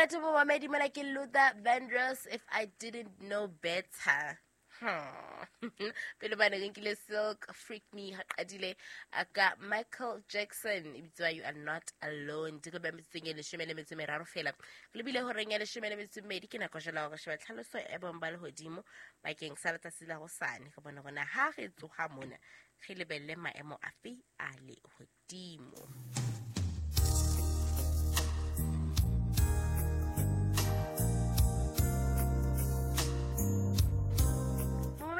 Monate momamedi, mona ke Luther Vandross, "If I Didn't Know Better". Pele bane re nkile Silk, "Freak Me". Ha qadile a ka Michael Jackson, e bitswa "You Are Not Alone". Di re ba metsotsong e 13 fela re lebile horeng ya 12. Ke nako jala hore sheba tlhaloso e bong ba lehodimo bakeng sa letsatsi la hosane, re bone hore na ha re tsoha mona re lebelle maemo afe a lehodimo.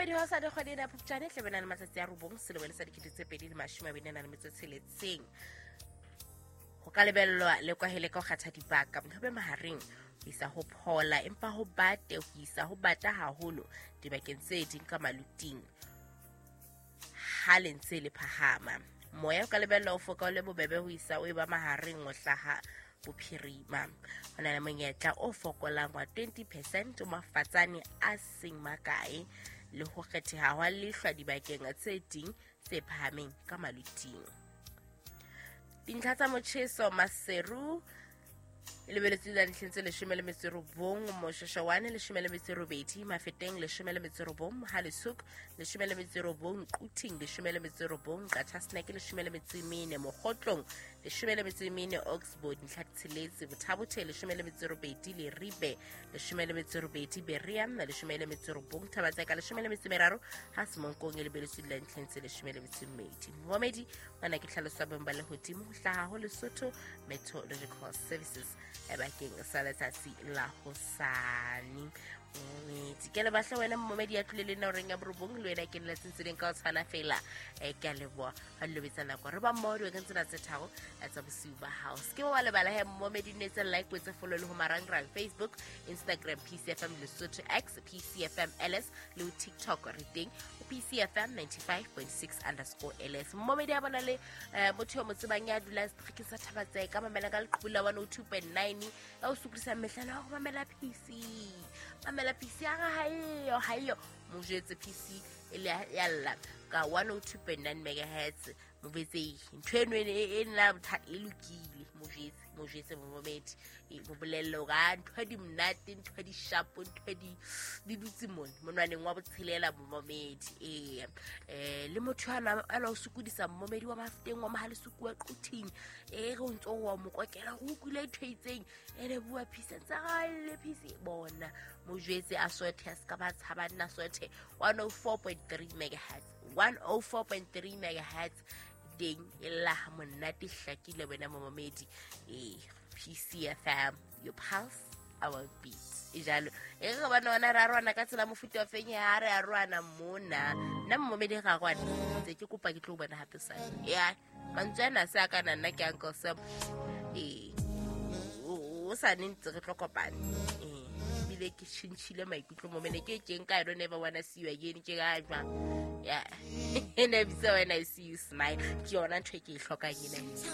Momamedi, wa sa kgwedi ena ya Phupjane tle bena le matsatsi a 9 selemong sa 2026, ho ka lebellwa le kwahele ka ho kgatha dibaka, ho be mahareng ho isa ho phola, empa ho bate ho isa ho bata haholo dibakeng tse ding ka maluting ha le ntse le phahama. Moya o ka lebellwa o foka o le bobebe ho isa o e ba mahareng o hlaha bophirima. Ho na le monyetla o fokolang wa 20% o mafatsane a seng makae le ho kgetheha hwa lehlwa dibakeng tse ding tse phahameng ka maluting. Dintlha tsa motjheso: Maseru e lebeletswe la ntlheng tse 19, Moshoshoane 18, Mafeteng 19, Halisuk 19, Quthing 19, Qachaseneke 14, Mokgotlong 14, Oxford ntlha 6, Botha-Bothe 18, Leribe 18, Berea 19, Thaba-Tseka 13, ha Semonkong e lebeletswe la ntlheng tse 12. Momamedi, ngwana ke tlhaloso ya bong ba lehodimo ho hlaha ho Lesotho Meteorological Services bakeng sa letsatsi la hosane. Momedi, ke le batla wena momedi ya tlile le nna horeng ya 9, le wena ke lelatseng tse ding ka ho tshwana fela. Ke a leboha ha le lobetsa nako re ba mmoho dibakeng tsena tse 3 tsa bosiu ba hao. Se ke wa lebala he momedi, ne tse like, tse follow le ho marangrang: Facebook, Instagram PCFM Lesotho, X PCFM LS, le ho TikTok re teng ho PCFM 95.6_LS. Momedi, a bona le motho yo mo tsebang ya dulang seterekeng sa Thaba-Tseka, mamela ka leqhubu la 102.9, ya o sokodisa mehlala wa go mamela PC, mamela PC ya ga haeyo haeyo, mo jwetse PC e le ya lla ka 102.9 megahertz. Mo jwetse ntho eno e nna bothata e lokile. Mo jwetse, mo jwetse momamedi, mo bolelle hore a ntho di monate, ntho di sharp, ntho di dutse mone monwaneng wa botshelela. Momamedi, ee, le motho ana o sokodisa, momamedi wa Mafeteng, wa Mohalesuku, wa Quthing, e re o ntso wa mo kokela go utlwile ntho e itseng ene bua PC ntse ga le PC bona, mo jwetse a sothe, a se ka ba tshaba nna sothe 104.3 megahertz, 104.3 megahertz teng e lla ha monate, hlakile wena momamedi. Ee, PCFM, your pulse, our beat. E jalo e re bana ona re aroana ka tsela mofuta wa feng ha re aroana mona. Nna momamedi ga rwana ntse ke kopa ke tlo bona hape sane ya mantswe ana se a kana. Nna ke Uncle Sam. Ee, o sa ne ntse re tlo kopana. Ee, ebile ke tjhentjhile maikutlo momene ke keng ka "I don't ever wanna see you again". Ke ka jwang ya ene bitsa "When I See You Smile". Ke yona ntho e ke e hlokang ena.